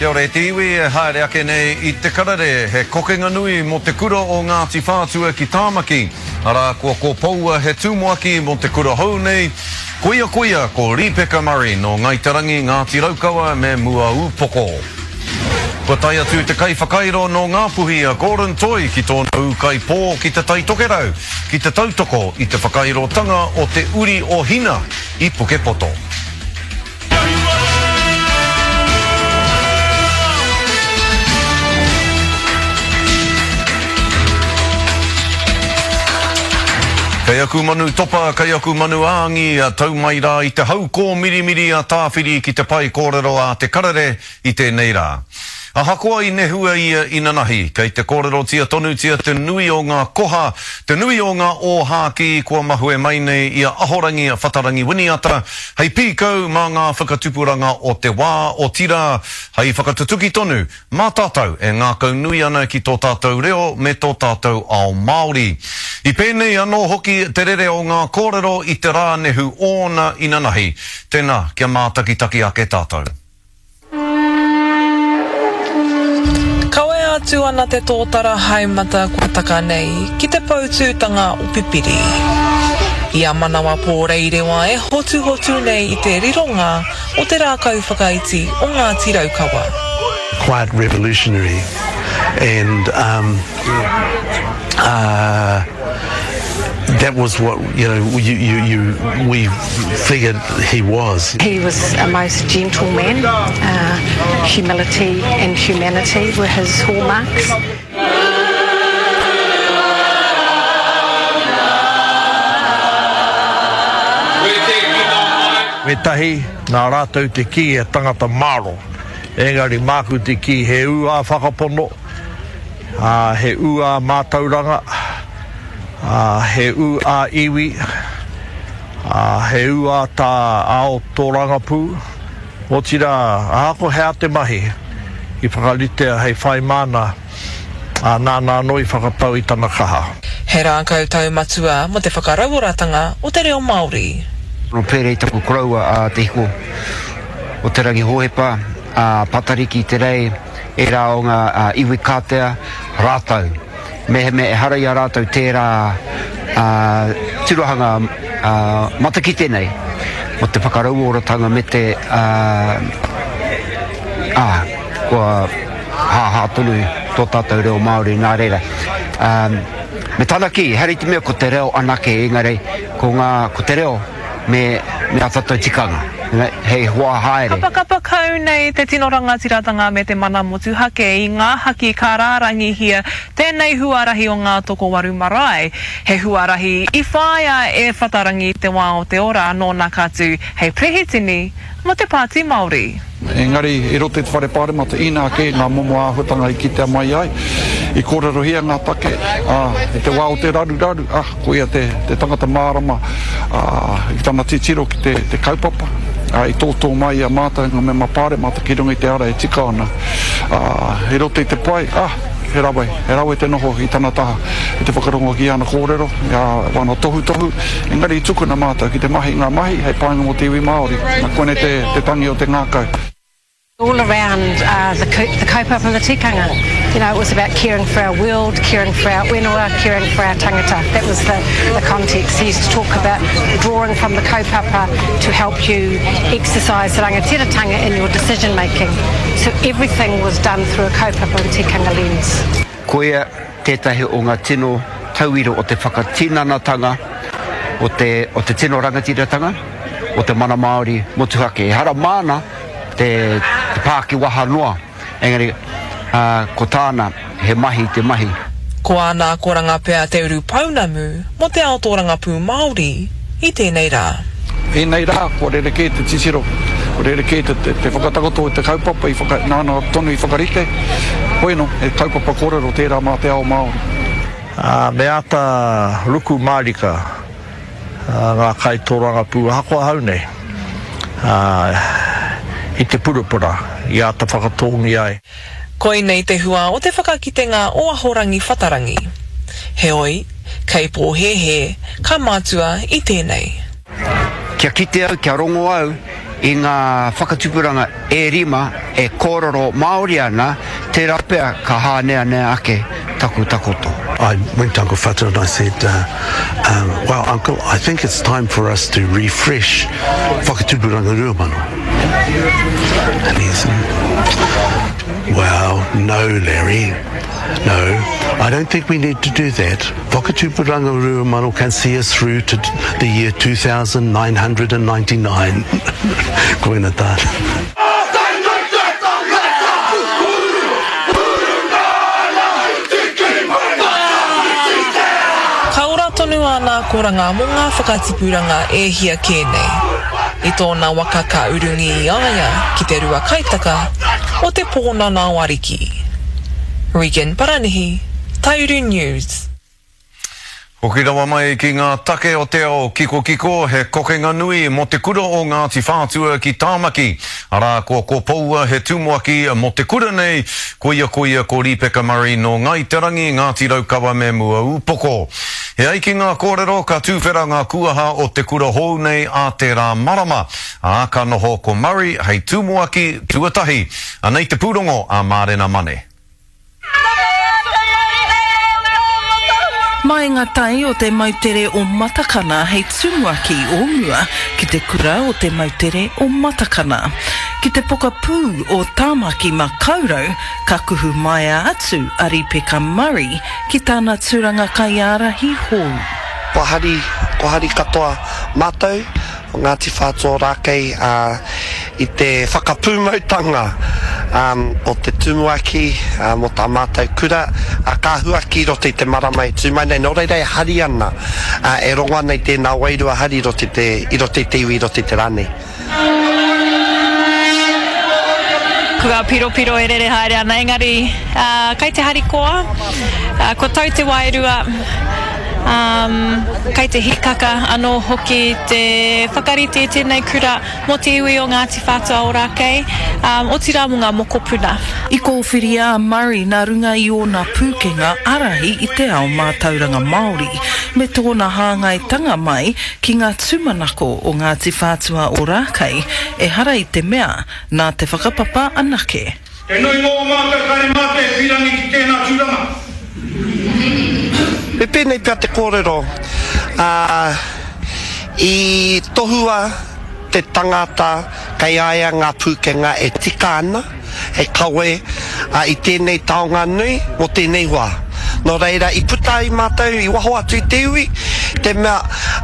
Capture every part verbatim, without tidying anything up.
Kia ora e te iwi e haere ake nei i te karere, he kokenga nui mō te kura o Ngāti Whātua ki Tāmaki. Arā, kua kōpoua he tumuaki mō te kura hou nei, koia koia ko Ripeka Murray nō Ngāi Te Rangi, Ngāti Raukawa me Muaūpoko. Kua tae atu te kaiwhakairo nō Ngāpuhi a Gordon Toi ki tōna ūkaipō ki Te Tai Tokerau, ki te tautoko i te whakairotanga o te uri o Hina i Pukepoto. Kei aku manu topa, kei aku manu āngi, a tau mai rā i te hau kōmirimiri a Tāwhiri ki te pae kōrero a te karere i tēnei rā. Ahakoa i nehua ia inanahi, kei te kōrerotia tonutia te nui o ngā koha, te nui o ngā ōhākī kua mahue mai nei i a Ahorangi a Whatarangi Winiata, hei pīkau mā ngā whakatupuranga o te wā, otirā, hei whakatutuki tonu mā tātou e ngākau nui ana ki tō tātou reo me tō tātou ao Māori. I pēnei anō hoki te rere o ngā kōrero i te rā nehu ōna inanahi. Tēnā, kia mātakitaki ake tātou. Kawea atu ana te tōtara haemata kua taka nei ki te poutūtanga o Pipiri. I a Manawa Pōreirewa e hotuhotu nei i te rironga o te rākau whakaiti o Ngāti Raukawa. Quite revolutionary and um, uh, that was what, you know, you, you, you, we figured he was. He was a most gentle man. Uh, humility and humanity were his hallmarks. Wētahi, nā rātou te kī he tangata māro. Engari māku te kī he ū ā whakapono, ā, he ū ā mātauranga, ā, he ū ā iwi, ā, he ū ā tā ao tōrangapū. Otirā, ahakoa he aha te mahi i whakaritea hei whai māna, ā, nāna anō i whakatau i tana kaha. He rākau taumatua mō te whakarauoratanga o te reo Māori. Nō pērei taku koroua a Te Hiko o Te Rangi Hōhepa, a Patariki Te Rei, ērā o ngā iwi kātea, rātou. Mehemea ehara i a rātou tērā tirohanga matakite nei o te whakarauoratanga me te, ā, kua hāhā tonu tō tātou reo Māori nā reira. Me tana kī, ehara i te mea ko te reo anake, engari ko ngā, ko te reo me, me ā tātou tikanga, hei hoa haere. Kapakapa kau nei te tino rangatiratanga me te mana motuhake i ngā haki ka rārangihia tēnei huarahi o Ngā Tokowaru marae. He huarahi i whāia e Whatarangi te wā o te ora nōna ka tū hei perehitini mō te Pāti Māori. Engari, i roto i te Whare Pāremata, inā kē ngā momo āhuatanga i kitea mai ai, i kōrerohia ngā take, ā, i te wā o te raruraru, ā, ko ia te, te tangata mārama, ā, i tana titiro ki te, te kaupapa, ā, i tōtō mai i a mātou ngā mema pāremata ki runga i te ara e tika ana, ā, i roto i te pae, ā, he rawe, he rawe te noho i tana taha, i te whakarongo ki ana kōrero, i āna tohutohu, engari i tukuna mātou ki te mahi i ngā mahi hei painga mō te iwi Māori. Na, koinei te, te tangi o te ngākau. All around uh, the, the kaupapa and the tikanga. You know, it was about caring for our world, caring for our whenua, caring for our tangata. That was the, the context. He used to talk about drawing from the kaupapa to help you exercise rangatiratanga in your decision making. So everything was done through a kaupapa and tikanga lens. Koia tētahi o ngā tino tauira o te whakatinanatanga o te, o te tino rangatiratanga, o te mana Māori motuhake. Ehara māna te, te pākiwaha noa, engari uh, ko tāna he mahi te mahi. Ko āna akoranga pea te urupounamu mō te ao tōrangapū Māori i tēnei rā. Ēnei rā, kua rerekē te titiro, kua rerekē te, te, te whakatakoto i te kaupapa i whaka, nāna tonu i whakarite. Hoeno, he kaupapa kōrero tērā mā te ao Māori. Ā, me āta ruku mārika ngā kaitōrangapū ahakoa hau nei, ā, i te purapura i āta whakatōngia ai. Koinei te hua o te whakakitenga o Ahorangi Whatarangi. Heoi, kei pōhēhē, ka mātua i tēnei. Kia kite au, kia rongo au i ngā whakatupuranga e rima e kōrero Māori ana, tērā pea ka hāneanea ake taku takoto. I went to Uncle Whata and I said, uh, um, well, Uncle, I think it's time for us to refresh Whakatupuranga Ruamano. And he said, well, no, Larry, no, I don't think we need to do that. Whakatupuranga Ruamano can see us through to the year two thousand nine hundred and ninety-nine. Koina tāna. Ka ora tonu ana koranga mō ngā whakatipuranga e hia kē nei. I tōna waka ka urungi i a ia ki te rua kaitaka o te pōnana o Ariki. Regan Paranihi, Taiuru News. Hoki rawa mai ki ngā take o te ao kikokiko, he kokenga nui mō te kura o Ngāti Whātua ki Tāmaki. Arā, ko Kopoua he tumuaki mō te kura nei, koia koia ko Ripeka Murray no Ngai Te Rangi, Ngāti Raukawa me Mua Upoko. He ai ki ngā kōrero ka tūwhera ngā kuaha o te kura hou nei a tērā marama. Ā, ka noho ko Murray hei tumuaki tuatahi. Anei te pūrongo a Mārena Mane. Mai ngā tai o te mautere o Matakana hei tumuaki o mua ki te kura o te mautere o Matakana. Ki te pokapū o Tāmaki Makaurau, ka kuhu maia atu a Ripeka Murray ki tāna tūranga kaiārahi hou. Kua hari, kua hari katoa mātou o Ngāti Whātua Ōrākei uh, i te whakapūmautanga um, o te tumuaki uh, mō tā mātou kura uh, ka huaki roto i te marama e tū mai nei. Nō reira e hari ana, uh, e rongo ana i tēnā wairua hari i roto i te, i roto i te iwi, i roto i te rā nei. Ko ngā piropiro e rere haere ana, engari uh, kai te harikoa, uh, ko tau te wairua, um, kai te hikaka anō hoki te whakarite i tēnei kura mō te iwi o Ngāti Whātua Ōrākei, um, otirā mō ngā mokopuna. I kōwhiria a Murray nā runga i ōna pūkenga ārahi i te ao mātauranga Māori, me tōna hāngaitanga mai ki ngā tūmanako o Ngāti Whātua Ōrākei, ehara i te mea, nā te whakapapa anake. Te nui ngō mātou kare mātou e pirangi ki tēnā tūranga. Me pēnei pea te kōrero, uh, i tohua te tangata kei aia ngā pūkenga e tika ana, e kawe uh, i tēnei taonga nui mō tēnei wā. Nō reira, i puta i mātou, i waho atu i te iwi, te mea,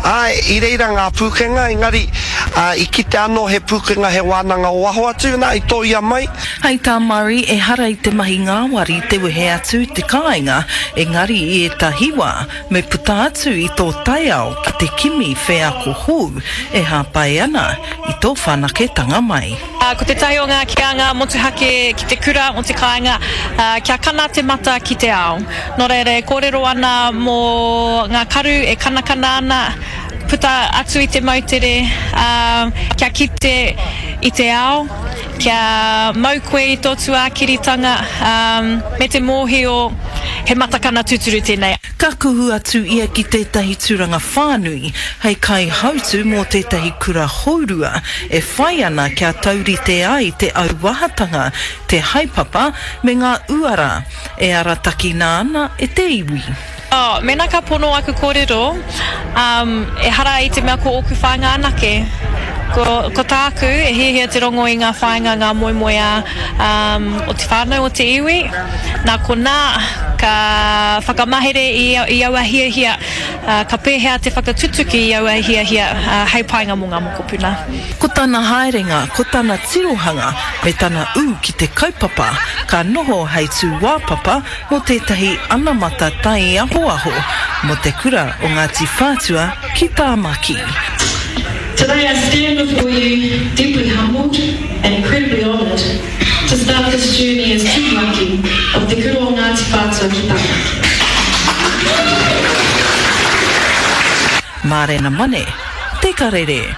ai, i reira ngā pūkenga, engari uh, i kite anō he pūkenga he wānanga o waho atu, nā, i tōia mai. Hei tā Murray, ehara i te mahi ngāwari te wehe atu i te kāinga, engari i ētahi wā, me puta atu i tō taiao ki te kimi wheako hou e hāpai ana i tō whanaketanga mai. Uh, ko te tahi o ngā kianga motuhake ki te kura o te kāinga, uh, kia kana te mata ki te ao. Nō reira e kōrero ana mō ngā karu e kanakana ana, puta atu i te mautere, uh, kia kite i te ao, kia mau koe i tō tuākiritanga, um, me te mōhio he matakana tūturu tēnei. Ka kuhu atu ia ki tētahi tūranga whānui, hei kaihautu mō tētahi kura hourua, e whai ana kia taurite ai te auahatanga, te haepapa me ngā uara, e aratakina ana e te iwi. Oh, mena ka pono aku kōrero, um, ehara i te mea ko ōku whāinga anake. Ko, ko tāku e hiahia te rongo i ngā whāinga ngā moemoeā um, o te whānau o te iwi. Nā konā ka whakamahere i, i aua hiahia, uh, ka pēhea te whakatutuki i aua hiahia uh, hei painga mō ngā mokopuna. Ko tana haerenga, ko tana tirohanga, me tana ū ki te kaupapa, ka noho hei tūāpapa mō tētahi anamata tai ahoaho mō te kura o Ngāti Whātua ki Tāmaki. Today I stand before you deeply humbled and incredibly honoured to start this journey as tumuaki of Te Kura o Ngāti Whātua ki Tāmaki. Mārena Mane, Te Karere.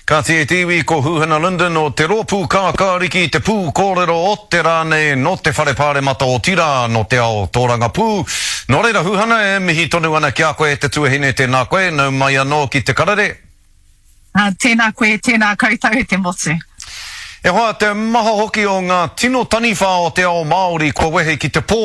Ka te te iwi ko Huhana Lyndon o te rōpū kākāriki te pū kōrero o te rā nei no te whare pāremata o Tirā no te ao tōrangapū. Nō reira Huhana e mihi tonu ana ki a koe te tuahine tēnā koe, nau mai anō ki te karere. Tēnā koe, tēnā koutou e te motu. E hoa, te maha hoki o ngā tino taniwha o te ao Māori kua wehe ki te pō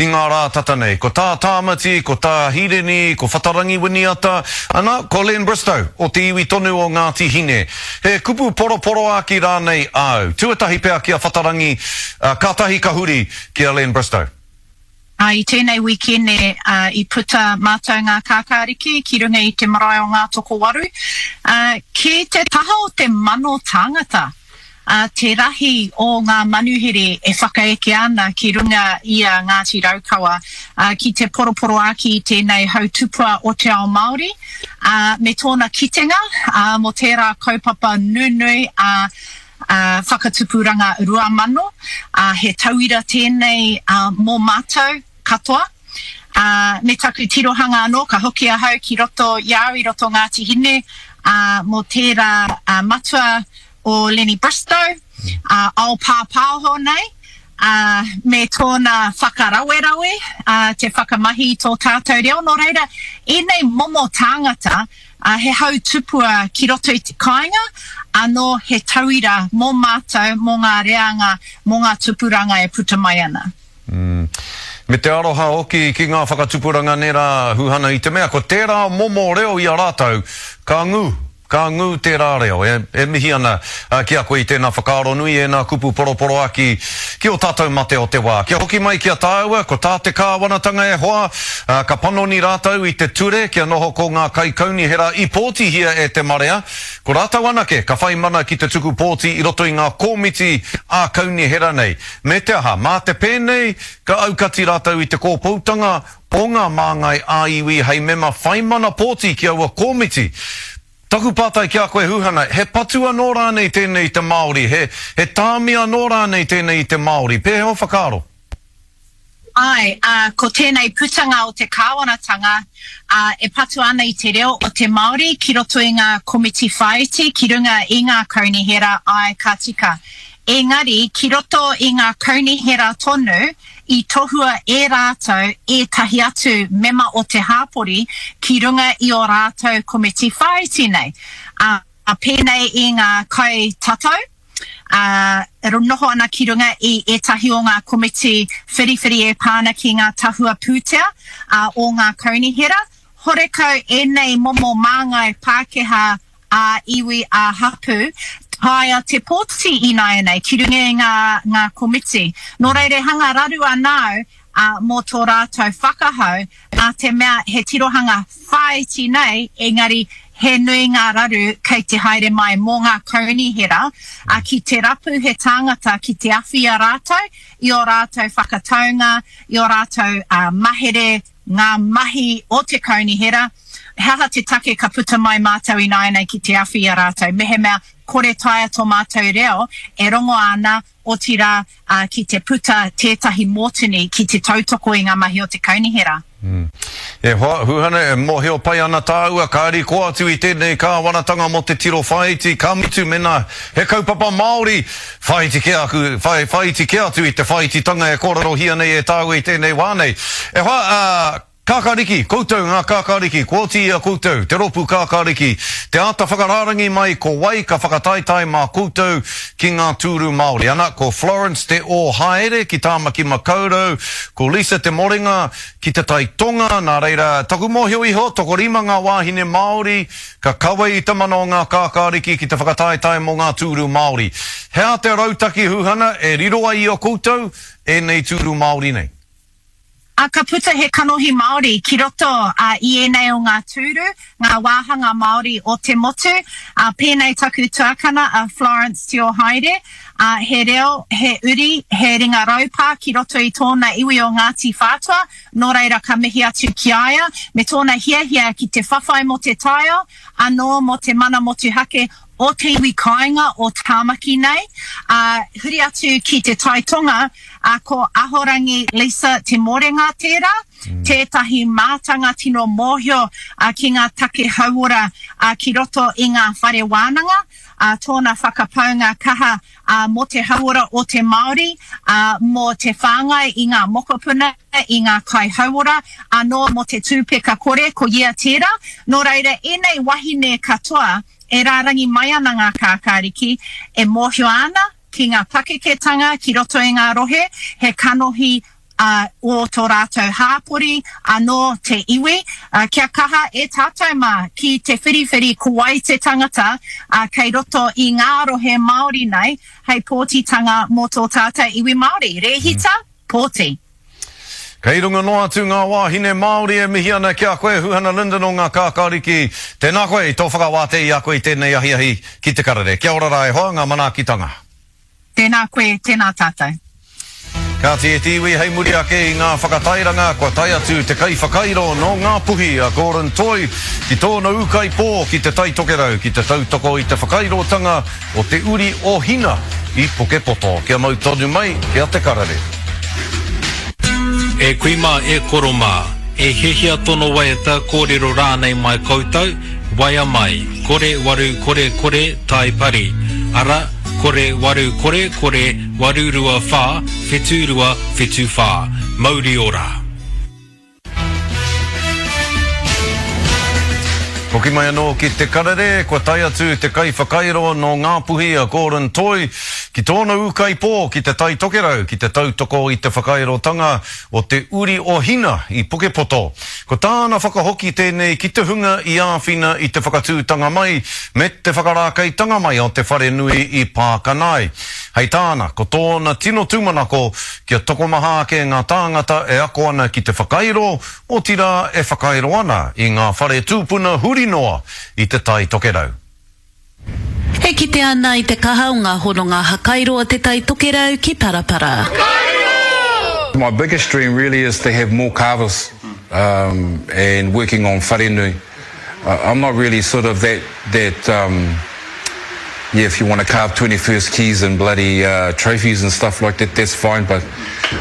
i ngā rā tata nei. Ko tā Tāmati, ko tā Hirini, ko Whatarangi Winiata, ana, ko Len Bristow o te iwi tonu o Ngāti Hine. He kupu poroporoāki rānei āu? Tuatahi pea ki a Whatarangi, kātahi ka huri ki a Len Bristow. Ā, i tēnei wīkene i puta mātou ngā kākāriki ki runga i te marae o Ngātokowaru, ā, ki te taha o te mano tāngata, ā, te rahi o ngā manuhiri e whakaeke ana ki runga i a Ngāti Raukawa, ā, ki te poroporoāki i tēnei hau tupua o te ao Māori, ā, me tōna kitenga, ā, mō tērā kaupapa nunui, ā, ā, Whakatupuranga Rua Mano, ā, he tauira tēnei, ā, mō mātou katoa. Ā, me taku tirohanga anō, ka hoki ahau ki roto i a au i roto Ngāti Hine, ā, mō tērā, ā, matua o Lenny Bristow, ā, ao pāpāho nei, ā, me tōna whakarawerawe, ā, te whakamahi i tō tātou reo. Nō reira, ēnei momo tāngata, ā, he hau tupua ki roto i te kāinga, anō he tauira mō mātou, mō ngā reanga, mō ngā tupuranga e puta mai ana. Mm. Me te aroha hoki ki ngā whakatupuranga nē rā, Huhana, i te mea ko tērā momo reo i a rātou, ka ngū, ka ngū tērā reo. E, e mihi ana ki a koe i tēnā whakaaro nui, ēnā kupu poroporoaki ki ō tātou mate o te wā. Kia hoki mai ki a tāua, ko tā te kāwanatanga e hoa, ka panoni rātou i te ture kia noho ko ngā kaikaunihera i pōtihia e te marea, ko rātou anake ka whai mana ki te tuku pōti i roto i ngā komiti ā-kaunihera nei. Me te aha, mā te pēnei, ka aukati rātou i te kōpoutanga o ngā māngai ā-iwi hei mema whai mana pōti ki aua komiti. Taku pātai ki a koe Huhana, he patu anō rānei tēnei i te Māori, he, he tāmi anō rānei tēnei i te Māori? Pēhea ō whakaaro? Āe, ā, ko tēnei putanga o te kāwanatanga, ā, e patu ana i te reo o te Māori ki roto i ngā komiti whāiti, ki runga i ngā kaunihera, āe, ka tika. Engari, ki roto i ngā kaunihera tonu, i tohua e rātou ētahi atu mema o te hāpori ki runga i ō rātou komiti whāiti nei, ā, pēnei i ngā kaitatau, ā, e noho ana ki runga i ētahi o ngā komiti whiriwhiri e pā ana ki ngā tahua pūtea, ā, o ngā kaunihera. Horekau ēnei momo māngai Pākehā ā-iwi, ā-hapū, taea te pōti ināianei ki runga i ngā, ngā komiti. Nō reira e hanga raru ana au, ā, mō tō rātou whakahau, nā te mea he tirohanga whāiti nei, engari he nui ngā raru kei te haere mai mō ngā kaunihera, ā, ki te rapu he tāngata ki te awhi i a rātou, i ō rātou whakataunga, i ō rātou, ā, mahere, ngā mahi o te kaunihera, he aha te take ka puta mai mātou ināianei ki te awhi i a rātou, mehemea kore taea tō mātou reo e rongoa ana, otirā, ā, ki te puta tētahi mōtini ki te tautoko i ngā mahi o te kaunihera. E hoa, Huhana, e mōhio pai ana tāua, ka rikoa atu i tēnei kāwanatanga mō te tiro whāiti, ka mutu mēnā he kaupapa Māori, whāiti kē aku, whai, whāiti kē atu i te whāititanga e kōrerohia nei e tāua i tēnei wā nei. E hoa, ā, Kākāriki, koutou ngā kākāriki, kua oti i a koutou, te rōpū kākāriki, te āta whakarārangi mai ko wai ka whakataetae mā koutou ki ngā tūru Māori. Ana, ko Florence Te Ōhaere ki Tāmaki Makaurau, ko Lisa Te Morenga ki Te Tai Tonga, nā reira, taku mōhio iho, tokorima ngā wāhine Māori ka kawe i te mana o ngā kākāriki ki te whakataetae mō ngā tūru Māori. He aha te rautaki huhana e riro ai i a koutou ēnei tūru Māori nei? Ā, ka puta he kanohi Māori ki roto i ēnei o ngā tūru, ngā wāhanga Māori o te motu, ā, pēnei taku tuakana a Florence Tiohaere, ā, he reo, he uri, he ringa raupā ki roto i tōna iwi o Ngāti Whātua, nō reira ka mihi atu ki a ia, me tōna hiahia ki te whawhai mō te taiao, anō mō te mana motuhake o te iwi kāinga o Tāmaki nei, ā, huri atu ki te Tai Tonga, ā, ko Ahorangi Lisa Te Morenga tērā, tētahi mātanga tino mōhio, ā, ki ngā take hauora, ā, ki roto i ngā whare wānanga, ā, tōna whakapaunga kaha, ā, mō te hauora o te Māori, ā, mō te whāngai i ngā mokopuna, i ngā kaihauora, anō mō te tūpeka kore, ko ia tērā. Nō reira, ēnei wahine katoa, e rārangi mai ana ngā kākāriki e mōhio ana ki ngā pakeketanga ki roto i ngā rohe, he kanohi ō tō rātou hāpori anō te iwi, kia kaha e tātou mā ki te whiriwhiri ko wai te tangata kei roto i ngā rohe Māori nei hei pōtitanga mō tō tātou iwi Māori. Rēhita, pōti. Kei runga noa atu ngā wāhine Māori e mihi ana ki a koe, Huhana Lyndon o ngā Kākāriki. Tēnā koe i tō whakawātea i a koe i tēnei ahiahi ki te karere. Kia ora rā e hoa, ngā manaakitanga. Tēnā koe, tēnā tātou. Kāti e te iwi hei muri ake i ngā whakatairanga, kua tae atu te kaiwhakairo nō Ngāpuhi a Gordon Toi ki tōna ūkaipō ki Te Tai Tokerau ki te tautoko i te whakairotanga o te uri o Hina i Pukepoto. Kia mau tonu mai ki a Te Karere. E kui mā, e koro mā, e hiahia tono waiata kōrero rānei mai koutou, waea mai, kore waru kore kore tai pari, ara, kore waru kore kore waru rua whā whitu rua whitu whā. Mauri ora! Hoki mai anō ki Te Karere, kua tae atu te kaiwhakairo nō Ngāpuhi a Gordon Toi ki tōna ūkaipō ki Te Tai Tokerau ki te tautoko i te whakairotanga o te uri o Hina i Pukepoto. Ko tāna whakahoki tēnei ki te hunga i āwhina i te whakatūtanga mai me te whakarākeitanga mai o te wharenui i Pākanae. Hei tāna, ko tōna tino tūmanako kia tokomaha ake ngā tāngata e ako ana ki te whakairo, otirā e whakairo ana i ngā whare tūpuna huri noa i Te Tai Tokerau. E kite ana i te kaha o ngā hononga hakairo o Te Tai Tokerau ki Parapara. My biggest dream really is to have more carvers um, and working on wharenui. Uh, I'm not really sort of that, that um, yeah, if you want to carve twenty-first keys and bloody uh, trophies and stuff like that, that's fine. But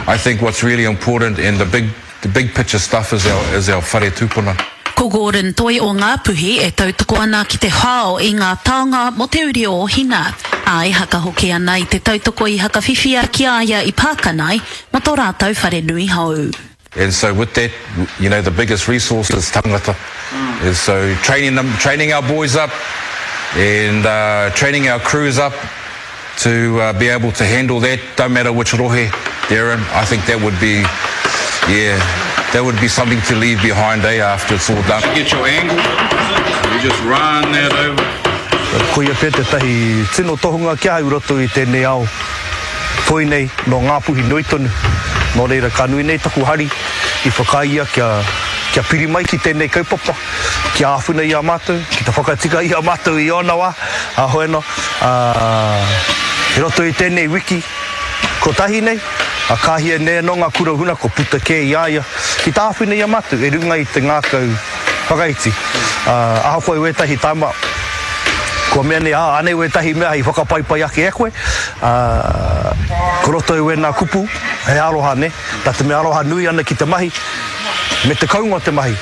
I think what's really important and the big, the big picture stuff is our, is our whare tūpuna. Ko Gordon Toi o Ngāpuhi e tautoko ana ki te hao i ngā taonga mō te uri o Hina. Ā, e hakahoki ana i te tautoko i hakawhiwhia ki a ia i Pākanae mō tō rātou wharenui hou. And so with that, you know, the biggest resource is tangata. And so training them, training our boys up and uh, training our crews up to uh, be able to handle that, don't matter which rohe they're in. I think that would be, yeah, that would be something to leave behind, eh, after it's all done. You get your angle, you just run that over. Ko ia pea tētahi tino tohunga ki ahau i roto i tēnei ao toi nei nō Ngāpuhi nui tonu. Nō reira ka nui nei taku hari i whakaae ia kia, kia piri mai ki tēnei kaupapa, kia āwhina i a mātou, ki te whakatika i a mātou i ōna wā, a hoeno, a, i roto i tēnei wiki kotahi nei, a ka hia nei anō ngā kura huna ko puta kē i a ia, ki tā āwhina i a mātou e runga i te ngākau whakaiti. Uh, ahakoa i wētahi taima, kua mea nei, ah, anei wētahi mea i whakapaipai ake e koe, uh, ko roto i wēnā kupu, he aroha ne, tā te mea aroha nui ana ki te mahi, me te kaunga o te mahi,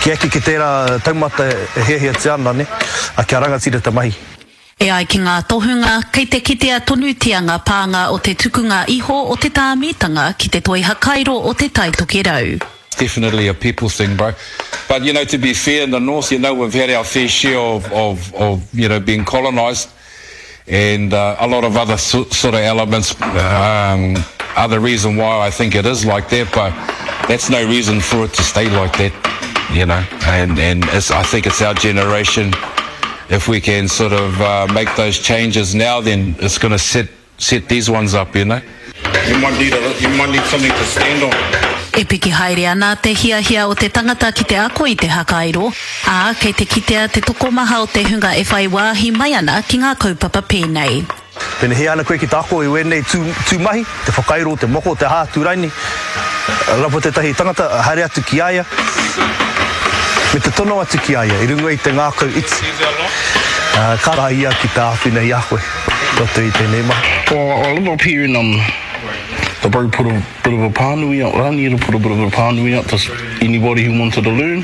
ki eke ki tērā taumata e hiahiatia ana ne, a kia rangatira te mahi. E ai ki ngā tohunga, kei te kitea tonutia ngā pānga o te tukunga iho o te tāmitanga ki te toi hakairo o Te Tai Tokerau. Definitely a people thing, bro. But, you know, to be fair, in the north, you know, we've had our fair share of, of, of you know, being colonised and uh, a lot of other so, sort of elements, um, other reason why I think it is like that, but that's no reason for it to stay like that, you know. And, and it's, I think it's our generation. If we can sort of uh, make those changes now, then it's going to set, set these ones up, you know. You might need, a, you might need something to stand on. E piki haere ana te hiahia o te tangata ki te ako i te hakairo, ā, kei te kitea te tokomaha o te hunga e whai wāhi mai ana ki ngā kaupapa pēnei. Pēnei hea ana koe ki te ako i wēnei tū, tū mahi, te whakairo, te moko, te hā, tūraini, rapo tētahi tangata, haere atu ki a ia, me te tono atu ki a ia, i runga i te ngākau iti. Uh, ka rā ia ki te āwhina i a koe, roto i tēnei mahi. Well, I live up here in um, the bro put a bit of a pānui out, Rani to put a bit of a pānui out to anybody who wanted to learn,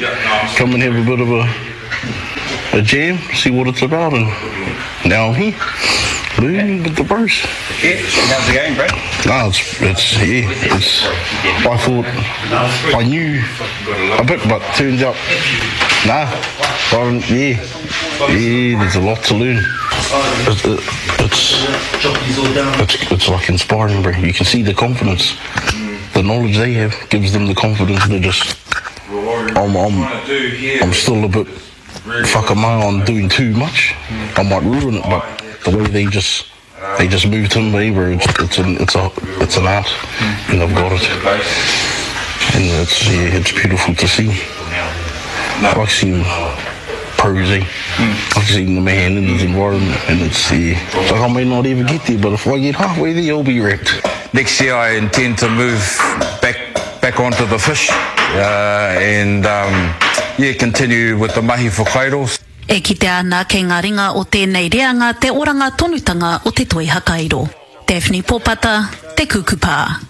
come and have a bit of a, a jam, see what it's about, and now I'm here, learning with the bros. Yeah, how's the game, bro? No, it's, it's, yeah, it's, I thought I knew a bit, but turns out Nah, um, yeah, yeah, there's a lot to learn. It, it, it's, it's, it's like inspiring, bro. You can see the confidence. The knowledge they have gives them the confidence to just... I'm, I'm, I'm still a bit whakamā on doing too much. I might ruin it, but the way they just... They just move to me, bro. It's, it's, an, it's, a, it's an art, and I've got it. And it's, yeah, it's beautiful to see. I like seeing pros, eh? I like seeing the man in his environment, and it's, yeah. It's like I may not even get there, but if I get halfway there, I'll be wrecked. Next year I intend to move back, back onto the fish, uh, and um, yeah, continue with the mahi whakairo. E kitea ana kei ngā ringa o tēnei reanga te oranga tonutanga o te toi hakairo. Daphne Popata, Te Kukupā.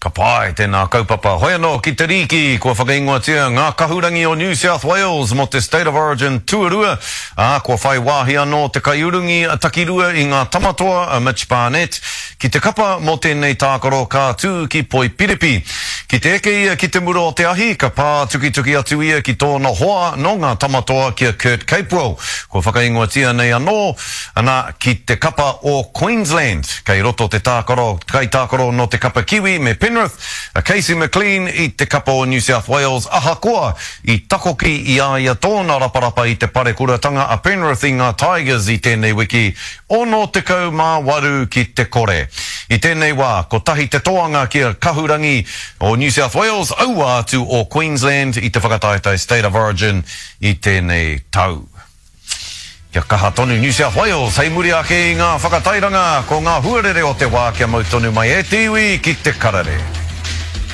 Ka pai tēnā kaupapa. Hoi anō ki te rīki, kua whakaingoatia ngā kahurangi o New South Wales mō te State of Origin tuarua, ā, kua whai wāhi anō te kaiurungi a takirua i ngā tamatoa a Mitch Barnett ki te kapa mō tēnei tākaro ka tū ki Poipiripi. Ki te eke ia ki te mura o te ahi, ka pā tukituki atu ia ki tōna hoa nō ngā tamatoa ki a Kurt Capewell. Kua whakaingoatia nei anō, ana, ki te kapa o Queensland. Kei roto te tākaro, kaitākaro nō te kapa Kiwi me Penrith, a Casey McLean i te kapa o New South Wales, ahakoa i takoki i a ia tōna raparapa i te parekuratanga a Penrith i ngā Tigers i tēnei wiki, ono tekau mā waru ki te kore. I tēnei wā, kotahi te toanga ki a Kahurangi o New South Wales, aua atu o Queensland i te whakataetae State of Origin i tēnei tau. Kia kaha tonu New South Wales, hei muri ake i ngā whakatairanga, ko ngā huarere o te wā kia mau tonu mai e te iwi ki te karere.